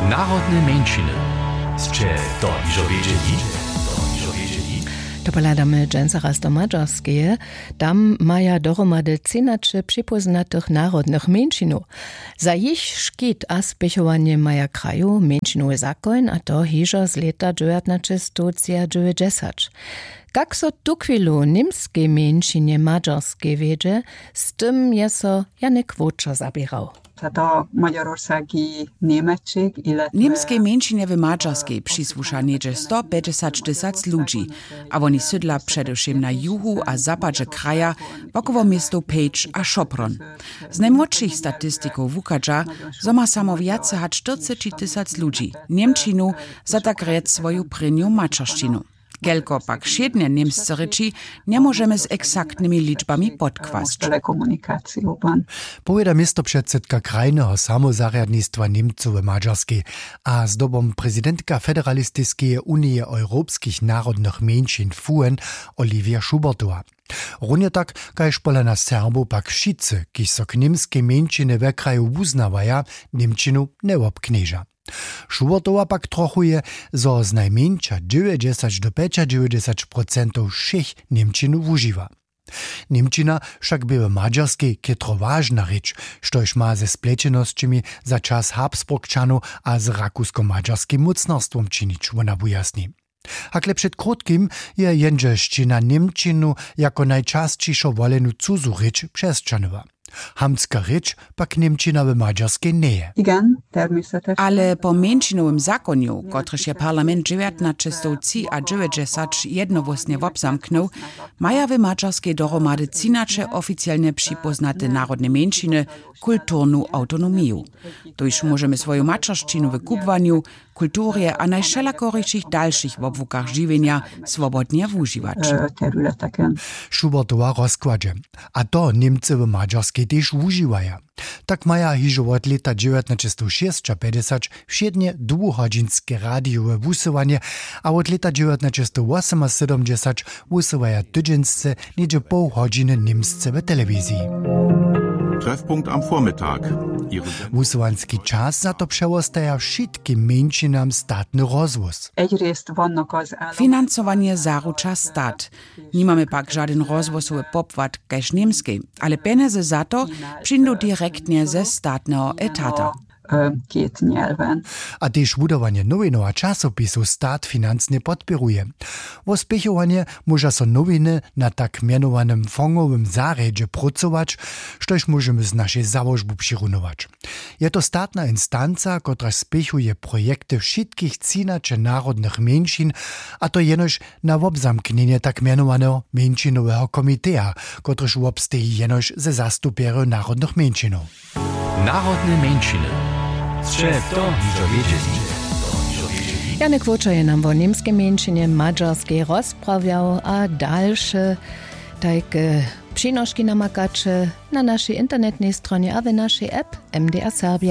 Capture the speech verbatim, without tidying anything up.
Narodne mjeńšiny. Sće to hižo wědźeli? To hižo wědźeli? To pohladamy dźensa raz do Mađarskeje. Tam maja dohromady třinaće připóznatych narodnych mjeńšinow. Za jich škit a spěchowanje maja kraju mjeńšinowy zakoń, a to hižo z lěta dźewjatnaćestowtři a dźewjećdźesać. Kak so tuchwilu němskej mjeńšinje Mađarskej wjedźe, z tym je so Janek Wóčer zaběrał. Němskej mjeńšinje w Mađarskej přisłuša něhdźe sto pjećdźesać tysac ludźi, a woni sydla předewšěm na juhu a zapadźe kraja, wokoło městow Pejč a Šopron. Z najmłodšich statistikow wuchadźa, zo ma samo wjace hač štyrceći tysac ludźi němčinu za tak rjec swoju prěnju maćeršćinu. Kelko pak wšědnje němsce rěči, njemóžemy z eksaktnymi ličbami podkłasć. Powěda městopředsydka krajneho samozarjadnistwa Němcow w Mađarskej a zdobom prezidentka Federalistiskeje unije europskich narodnych mjeńšin Fuen, Oliwje Schubertowa. Runje tak kaž pola nas Serbow pak wšitcy, kiž so k němskej mjeńšinje we kraju wuznawaja, němčinu njewobknježa. Schubertowa pak trochuje, zo znajmjeńša dźewjećdźesać do pjećadźewjećdźesać procentow wšěch němčinu wužiwa. Němčina wšak bě w Mađarskej chětro wažna rěč, štož ma ze splećenosćemi za čas Habsburgčanow a z rakusko-mađarskim mócnarstwom činić, wona wujasni. Hakle před krótkim je jendźelšćina němčinu jako najčasćišo wolenu cuzu rěč přesćahnyła. Hamtska rěč pak němčina w Mađarskej njeje. Ale po mjeńšinowym zakonju, kotryž je parlament dźewjatnaćestowtřiadźewjećdźesać jednohłósnje wobzamknył, maja w Mađarskej dohromady třinaće oficielnje připóznate narodne mjeńšiny kulturnu awtonomiju. Tuž móžemy swoju maćeršćinu w kubłanju, kulturje a najwšelakorichich dalšich wobłukach žiwjenja swobodnje wužiwać. Schubertowa rozkładźe. A to Němcy w Mađarskej tež wužiwaja. Tak maja hižo wot lěta dźewjatnaćestowšěsćapjećdźesać wšědnje dwuhodźinske radijowe wusyłanje a wot lěta dźewjatnaćestowwosymasydomdźesać wusyłaja tydźensce něhdźe poł hodźiny němsce w telewiziji. Treffpunkt am Vormittag. Wusyłanski čas za to přewostaja wšitkim mjeńšinam statny rozhłós. Financowanje zaruča stat. Nimamy pak žadyn rozhłosowy popłat kaž w Němskej, ale pjenjezy za to přińdu direktnje ze statneho etata. A tež wudawanje nowinow a časopisow stat financnje podpěruje. Wo spěchowanje móža so nowiny na tak mjenowanym fongowym zarjedźe prócować, štož móžemy z našej załožbu přirunować. Je to statna instanca, kotraž spěchuje projekty wšitkich třinaće narodnych mjeńšin, a to jenož na wobzamknjenje tak mjenowaneho mjeńšinoweho komiteja, kotryž wobsteji jenož ze zastupjerjow narodnych mjeńšinow. Narodne mjeńšiny. Sće to hižo wědźeli? Janek Wóčer je nam wo němskej mjeńšinje w Mađarskej rozprawjał a dalše tajke přinoški namakaće na našej internetnej stronje a w našej app M D R Serbia.